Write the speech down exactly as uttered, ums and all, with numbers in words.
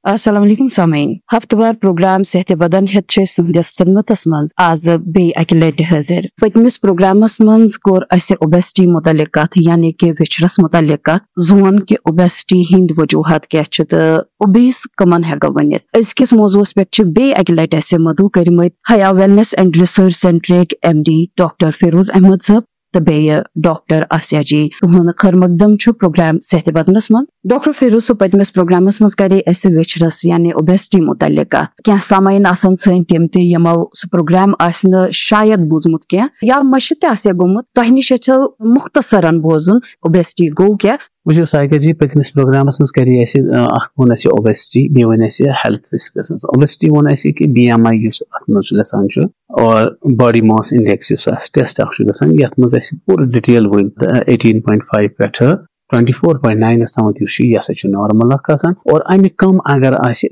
السلام علیکم سامعین، ہفتہٕ وار پروگرام صحت بدن ہیتھ چھِ أسۍ تُہنٛدِس خدمتس منٛز آز بیٚیہِ اکہِ لٹہِ حٲضِر۔ پٔتمِس پروگرامس منٛز کوٚر اسہِ اوبیسٹی متعلق کتھ، یعنی کہِ ویچھرس متعلق کتھ، زون کہِ اوبیسٹی ہٕنٛدۍ وجوہات کیٛاہ چھِ تہٕ اوبیس کمن ہٮ۪کو ؤنِتھ۔ أزکِس موضوعس پٮ۪ٹھ چھِ بیٚیہِ اکہِ لٹہِ اسہِ مدعو کٔرمٕتۍ حیا ویلنس اینڈ ریسرچ سینٹرٕکۍ M D doctor Feroz Ahmad صٲب تہٕ بیٚیہِ ڈاکٹر آسیا جی۔ تُہُنٛد خٲر مقدم چھُ پروگرام صحت بدنس منٛز۔ ڈاکٹر فیروز صٲب، پٔتمِس پروگرامس منٛز کرے اسہِ ویچھرس یعنی اوبیسٹی متعلق کتھ۔ کینٛہہ سامعین آسن سٲنۍ تِم تہِ یِمو سُہ پروگرام آسہِ نہٕ شاید بوٗزمُت کینٛہہ یا مٔشِتھ تہِ آسہِ گوٚمُت۔ تۄہہِ نِش یژھو مختصرن بوزُن اوبیسٹی گوٚو کیٛاہ؟ وٕچھِو ساقیہ جی، پٔتمِس پروگرامس منٛز کرے اسہِ، آ، اکھ ووٚن اسہِ اوبیسٹی، بیٚیہِ ووٚن اسہِ ہیلتھ رسکس منٛز۔ اوبیسٹی ووٚن اسہِ کہِ بی ایم آی یُس اتھ منٛز چھُ گژھان چھُ، اور باڈی ماس انڈیکس یُس اَسہِ ٹیسٹ اکھ چھُ گژھان، یَتھ منٛز اَسہِ پوٗرٕ ڈِٹیل ؤنۍ، ایٹیٖن پوینٹ فایِو پٮ۪ٹھٕ ٹُوَنٹی فور پوینٹ ناینَس تامَتھ یُس چھُ، یہِ ہسا چھُ نارمل اکھ آسان۔ اور اَمہِ کم اگر آسہِ،